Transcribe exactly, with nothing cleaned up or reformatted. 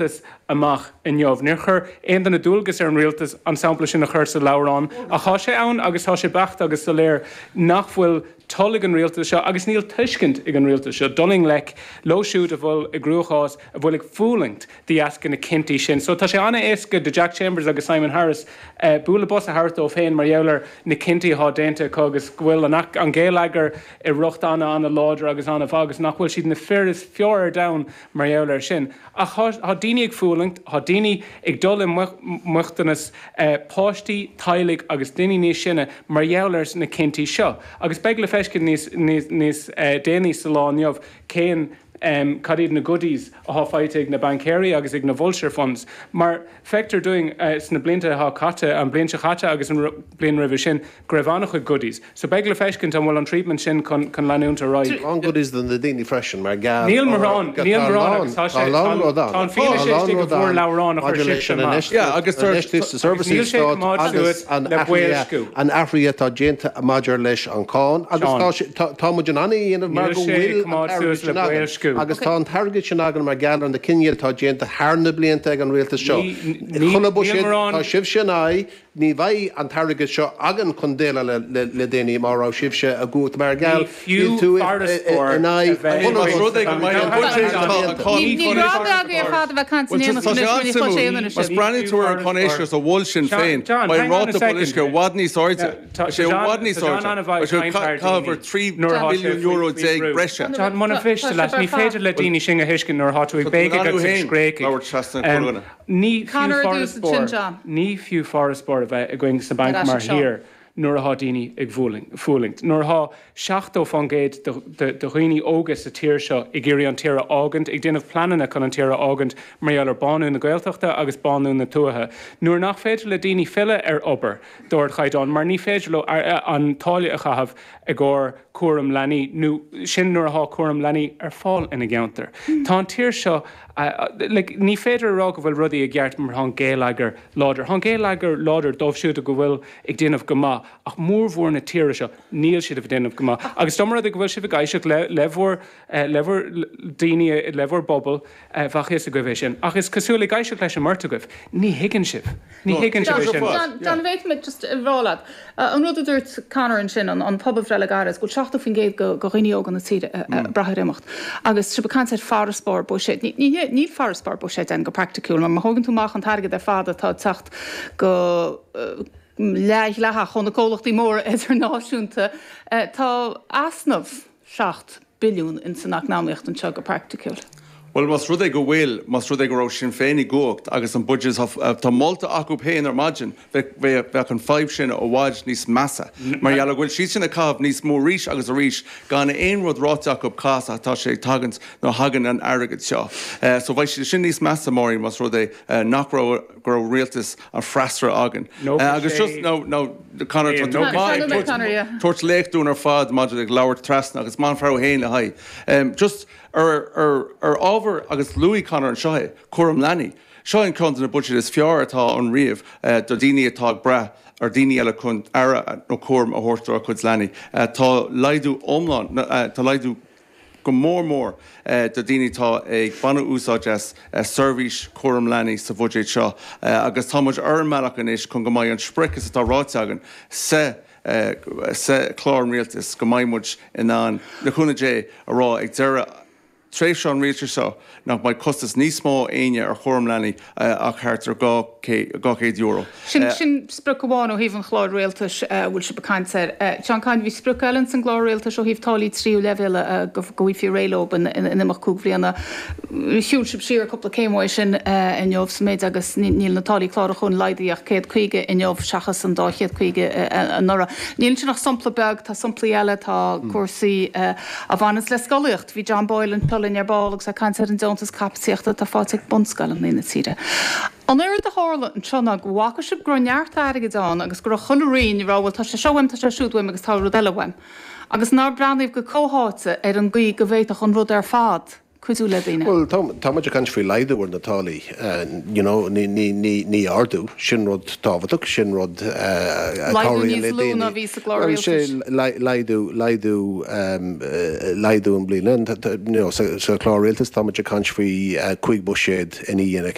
rialtas amach inniu. Níor chuir aon duine dualgas ar an rialtas an sampla sin a chur sa leabhrán, ach tá sé ann agus tá sé beacht agus soiléir nach bhfuil toil ag an rialtas seo agus níl tuiscint ag an rialtas seo dul i ngleic leo siúd a bhfuil i gcruachás a bhfuil ag fulaingt de dheasca na cinntí sin. So tá sé an-éasca do Jack Chambers agus Simon Harris uh, bualadh bos a thabhairt dóibh féin mar gheall ar na cinntí atá déanta acu agus go bhfuil an, an géilleagar i riocht an-an-láidir agus an-mhaith agus nach bhfuil siad na fir is fearr ar domhan mar gheall air sin. Ach tá daoine ag fulaingt, tá daoine ag dul i mbochtanas uh, páistí, teaghlaigh agus daoine níos sine mar gheall ar na cinntí seo. Agus beidh le feiscint níos, níos, níos uh, déanaí sa lá inniu cén um, cad iad na goodies atá faighte ag na baincéirí agus ag na vulture funds. Mar feictear dúinn uh, sna blianta atá caite an bliain seo caite agus an bliain roimhe sin go raibh an-chuid goodies. So beidh le feiscint an bhfuil an treatment sin chun chun leanúint ar aghaidh. An goodies do na daoine freisin mar ga Níl mórán níl mórán agus tá sé tá an fianaise istigh go bhfuair leabhrán a chuir sibhse amach. Yeah, agus services agus an le boilsciú. an athrú atá déanta maidir leis an cáin agus tá muid in ann é a dhéanamh mar go bhfuil an coimeád suas le boilsciú. agus tá an t-airgead sin againn mar gheall ar na cinntí atá déanta thar na blianta ag an rialtas seo. Chuna buiséad tá sibhse in aghaidh ní bheidh an t-airgead seo againn chun déileáil le le daoine mar raibh sibhse i gcumhacht mar gheall fiú farasbarr Ní rud agaibh ar fad a bheith caint in aon Más breathnaíonn tú ar an éis a bhfuil Sinn Féin beidh ráta boilscithe i bhfad níos airde sé i bhfad níos airde caithfear trí billiún euro déag breise. John muna mhiste leat ní féidir le daoine sin a thuiscint nuair atá tú ag béiceadh agus ag scréachadh. Ní fiú farasbarr ní fiú farasbarr a bheith againn sa banc mar thír nuair atá daoine ag fulaingt. Nuair atá seachtó faoin gcéad de dhaoine óga sa tír seo ag iarraidh an tír a fhágaint, ag déanamh pleananna chun an tír a fhágaint mar gheall ar bánú na Gaeltachta agus bánú na tuaithe. Nuair nach féidir le daoine filleadh ar obair d'ardchaighdeán, mar ní féidir leo an táille a chaitheamh i gcomhair cúram leanaí nó sin nuair atá cúram leanaí ar fáil ina gceantar. Tá an tír seo like, ní féidir a rá go bhfuil rudaí i gceart mar tá an géilleagar láidir. Tá an géilleagar láidir dóibh siúd go bhfuil ag déanamh go maith ach mórmhór na tíre seo níl siad ag déanamh go maith. Agus dá mba rud é go bhfuil sibh ag éisteacht le le bhur le bhur daoine le bhur bpobal bheadh a fhios agaibh é sin. Ach is cosúil ag éisteacht leis an mbeirt agaibh, ní thuigeann sibh. Ní thuigeann sibh é sin. John bhféadfaidh just rá leat. An rud a dúirt Conor ansin an pobalbhreith le gairid go bhfuil seachtó faoin gcéad de dhaoine óga na tíre ag brath ar imeacht. Agus sibh ag caint ar farasbarr buiséid. Níl farasbarr buiséid ann go praiticiúil, mar má thógann tú amach an t-airgead ar fad atá ag teacht go leathdhleathach ó na comhlachtaí móra idirnáisiúnta, tá easnamh seacht billiún in san eacnamaíocht anseo go praiticiúil. Bhuel más rud é go bhfuil más rud é go raibh Sinn Féin i gcumhacht agus an budget tá molta acu féin ar maidin bheadh an fadhb sin i bhfad níos measa. Mar gheall go bhfuil siad sin ag caitheamh níos mó arís agus arís gan aon rud ráite acu cá as atá sé ag tagaint nó thagann an airgead seo. So bheadh siad sin níos measa Máirín más rud é nach raibh go raibh rialtas an freasúra againn. Agus just no no Conor tabhairt léacht dúinn ar fad maidir le labhairt trasna agus maith an fear féin le haghaidh. Just ar ar ar ábhar agus luaigh Conor anseo é cúram leanaí. Seo an ceann de na budget is fearr atá ann riamh do daoine atá ag brath ar daoine eile chun aire nó cúram a thabhairt dá gcuid leanaí. Tá laghdú iomlán tá laghdú go mór mór do daoine atá ag baint úsáid as seirbhís cúram leanaí sa bhuiséad seo agus tá muid ar an mbealach anois chun go mbeidh an sprioc is atá ráite againn sa sa chlár an rialtais go mbeidh muid in ann le cúnamh Dé a rá ag deireadh tréimhse an rialtais seo nach mbeidh costas níos mó éinne ar chúram leanaí ach thart ar dhá chéad euro. Sin sin sprioc amháin ó thaobh an chláir rialtais a bhfuil sibh ag caint air. Seán Kyne bhí sprioc eile san gclár rialtais ó thaobh táillí tríú leibhéal go bhfaighfí réidh leo in imeacht cúig bhliana. Shiúil sibh siar cúpla céim uaidh sin inniu sa méid agus níl na táillí clárúcháin laghdaithe ach céad caoga inniu seachas an dá chéad caoga anuraidh. Níl sin ach sampla beag, tá samplaí eile, tá cúrsaí a bhaineanns le scolaíocht. Bhí John Boyle anseo linn ar ball agus é ag caint ar an deontas caipitíochta atá faighte ag bunscoileanna na tíre. An rud a tharla anseo ná go bhfaca sibh go raibh neart airgid ann agus go raibh chuile roinn ag rá bhuel tá sé seo uaim, tá sé siúd uaim agus tá rud eile uaim. Agus nár breathnaíodh go comhtháite ar an gcaoi go bhféadfadh an rud ar fad cuidiú le daoine? Bhuel, tá muid ag caint faoi laghdú ar na táillí, you know, ní, ní, ní, ní ardú, sin rud tábhachtach, sin rud a Laghdú níos lú ná bhí sa gclár rialtais. Laghdú, laghdú, laghdú i mbliana, you know, sa chlár rialtais tá muid ag caint faoi cúig buiséad ina dhiaidh.